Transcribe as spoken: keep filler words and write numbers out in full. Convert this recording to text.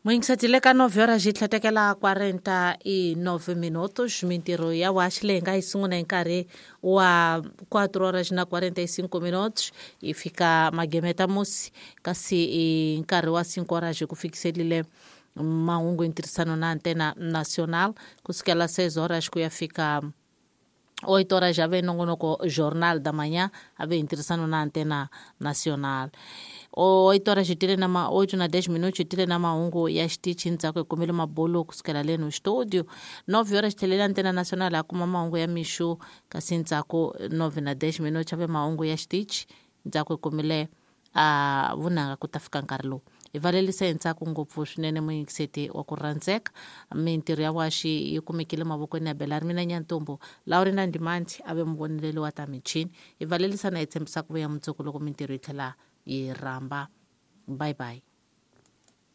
Muyingisati le ka nove horas yi tlhetekela quarenta e nove minutos. Mintirho ya waxi leyi nga yi sungula hi nkarhi wa quatro horas na quarenta e cinco minutos yi fika magemeta musi, kasi hi nkarhi wa cinco horas ku fikiselile mahungu hi ntirhisano na Antena Nacional. Kusukela seis horas ku ya fika oito horas ave nongonoko Jornal da Manhã, ave hi ntirhisano na Antena Nacional. Oito horas tile na ma oito na dez minutos tile na mahungu ya xitichi, ndzhaku hi kumile mabulu kusukela le no studio. Nove horas tlhelela Antena Nacional a kuma mahungu ya mixo, kasi ndzhaku nove na dez minutos ave mahungu ya xitichi, ndzhaku hi kumile a vunanga ku ta fika nkarhi lowu. Hi valelisa hi ntsako ngopfu swinene muyingiseti wa ku rhandzeka. Mintirho ya waxi yi kumekile mavokweni ya Belari mina Nyantombo, Laurina Ndimandi a ve muvoneleli wa ta michini. Hi valelisa na hi tshembisa ku vuya mundzuku loko mintirho yi tlhela yi rhamba. Bye bye.